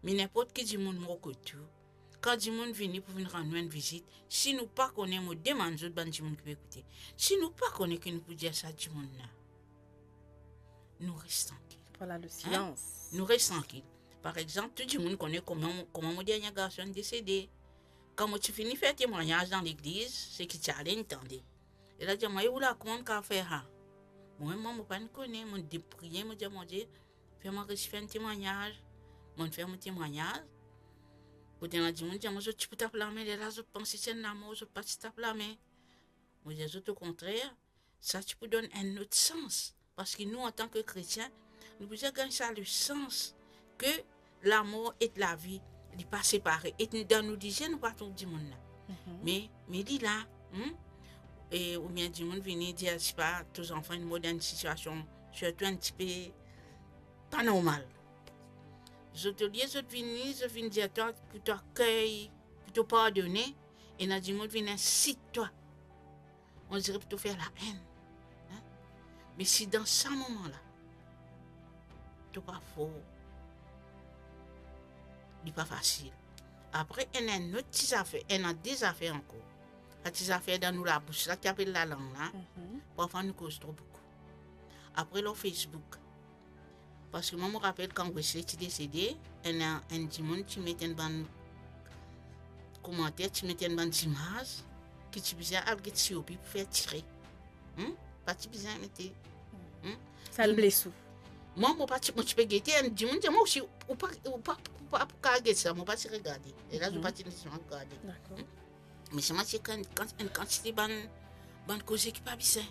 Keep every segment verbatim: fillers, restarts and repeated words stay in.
Me ninport ki dimoun mo kot ou, kan dimoun vini pou vinn rann nou enn vizit, si nou pa kone, mo demann zot bann dimoun ki pe ekoute, si nou pa kone ki nou pou dir sa dimoun la, nou res trankil. Voilà le silence. Nou res trankil. Par exanp, tou dimoun kone kouma, kouma mo dernie garson desede. Kan mo ti fini fer temwagnaz dan legliz, seki ti ale inn tande. E la dir mwa, "E ou la, kouma ou kapav fer sa?" Mwa mem, mo pa'nn kone, mo depriye, mo dir, "Bondie, fer mwa resi fer enn temwagnaz." Mo fer mo temwagnaz. Kot ena dimoun dir mwa, "Zot ti pou tap lame, lerla zot panse ti enn lamor, zot pa ti tap lame." Mo dir zot, okontrer, sa ti pou donn enn lot sans. Parski nou, antan ki kretien, nou bizin gagn sa lesans ki lamor ek lavi, li pa separe. E dan nou lizie, nou pa trouv dimoun la. Me, me li la, hmm? E oubien dimoun vini dir, sipa, to zanfan inn mor dan enn sitiasion, sirtou enn tipe pa normal. Zot, olie zot vini, zot vinn dir twa pou to akey, pou to pardone, ena dimoun vinn insit twa. Ondire pou to fer laenn. Hein? Me si dan sa moman la, to pa for, li pa fasil. Apre, ena enn lot ti zafer, ena de zafer ankor. Sa ti zafer dan nou labous la, ki apel lalang la, parfwa nou koz tro boukou. Apre, lor Facebook, parski mwa, mo rapel kan Wesley ti desede, enn, enn dimoun ti met enn bann komanter, ti met enn bann zimaz ki ti bizin al get C O P pou fer tire. Hmm? Pa ti bizin mete. Hmm? Sa inn bles ou? Mwa, mo pa ti, mo ti pe gete, enn dimoun dir mwa osi, ou pa, ou pa, ou pa, ou pa pou kapav get sa, mo pa ti regade. E la, mo pa ti, mo pa ti regade. Dakor. Hmm? Me selman ti kan-, kan-, enn kantite bann, bann koze ki pa bizin.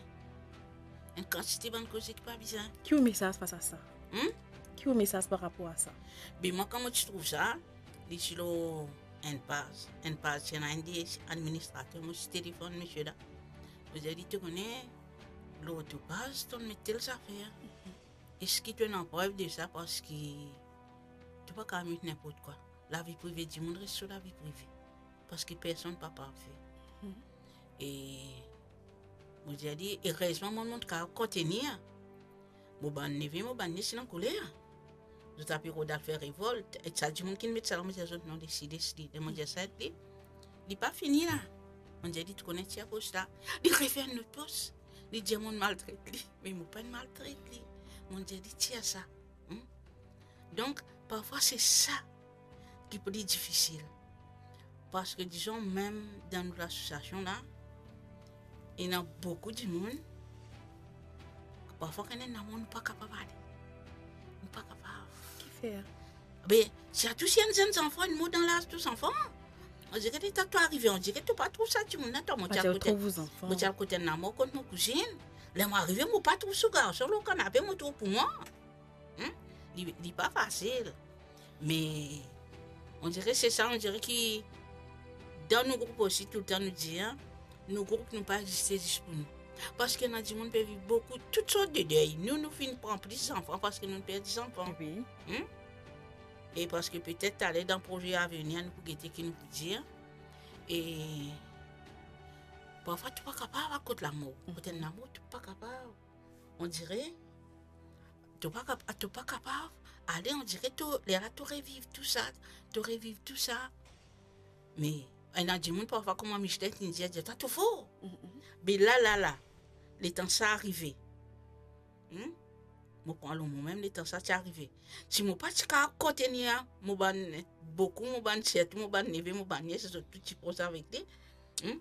Enn kantite bann koze ki pa bizin. Ki ou mesaz fas a sa? Hmm? Ki ou mesaz par rapor a sa? Be mwa, kan mo ti trouv sa, li ti lor enn paz. Enn paz, ti ena enn de administrater, mo ti telefonn misie la. Mo dir li, to kone, lor to paz, to'nn met tel zafer. Eski to ena prev de sa? Parski to pa kapav met ninport kwa. Lavi prive dimoun res so lavi prive. Parski personn pa parfe. E mo dir li, erezman mwa, mo ti kapav kontenir. Mo bann neve, mo bann nies inn ankoler. Zot ape rod al fer revolt. E sa dimoun ki met sa la, mo dir zot, non, les li, les li. Ler mo dir sa, li, li pa fini la. Mo dir li, to kone tir pos la. Li refer enn lot pos. Li dir mo'nn maltret li. Me mo pa'nn maltret li. Mo dir li, tir sa. Hmm? Donk, parfwa se sa ki pli difisil. Parski, dizon, mem dan nou lasosiasion la, ena boukou dimoun, parfwa kan ena enn lamor, nou pa kapav ale. Nou pa kapav. Kifer? Be, sirtou si enn zenn zanfan, enn mo dan laz tou zanfan. Ondire leta to arive, ondire to pa trouv sa dimoun la, to, mo ti al kot enn lamor kot mo kouzinn. Ler mo arive, mo pa trouv so garson lor kanape, mo trouv pou mwa. Hmm? Li, li pa fasil. Me, ondire se sa, ondire ki dan nou group osi, toultan nou dir, nou group nou pa existe zis pou nou. Parski ena dimoun pe viv boukou, tout sort de dey. Nou, nou finn pran plis zanfan parski nou perdi zanfan. Wi. Hmm? E parski petet taler dan proze avenir, nou pou gete ki nou pou dir. E parfwa to pa kapav al kot lamor. Kot enn lamor, to pa kapav. Ondire to pa kap-, to pa kapav ale, ondire to, lerla to reviv tou sa, to reviv tou sa. Me ena dimoun parfwa, kouma Michel ti dir, dir twa to for. Be la, la, la, letan sa arive, hmm? Mo pran lor momem, letan sa ti arive, si mo pa ti kapav kontenir mo bann boukou, mo bann, sirtou mo bann neve, mo bann nies, zot tou ti pros avek li, hmm?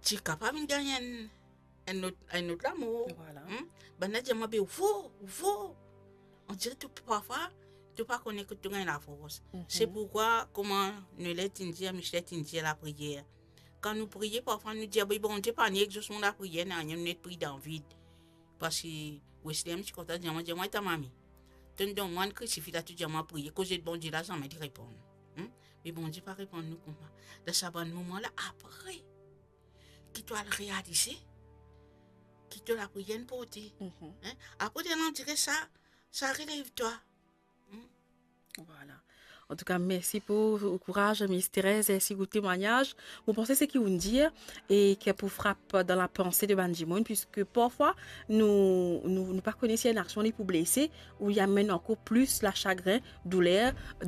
Ti kapav vinn gagn enn enn lot, enn lot lamor. Vwala. Hmm? Bannla dir mwa, be ou for, ou for. Ondire to parfwa, to pa kone kot to gagn lafors. Se poukwa, kouma Noelet inn dir, Michel inn dir, lapriyer. Kan nou priye, parfwa nou dir, be Bondie pa ni egzosman lapriyer, nanye, nou net priye dan vid. Parski Wesley ti kontan dir mwa, dir mwa, ta mami, to'nn donn mwa enn krisifi la, to dir mwa priye, koze Bondie la zame li reponn. Hmm? Me Bondie pa reponn nou koumsa. Dan sa bann moman la, apre ki to al realize ki to lapriyer inn porte. Hein? Apre, lerla ondire sa, sa relev twa. Hmm? Vwala. Antouka, mersi pou kouraz, Miss Thérèse, mersi pou temwagnaz. Mo panse seki ou'nn dir e ki pou frap dan lapanse de bann dimoun, piski parfwa nou, nou, nou pa kone si enn aksion li pou blese, ou li amenn ankor plis lasagrin, douler,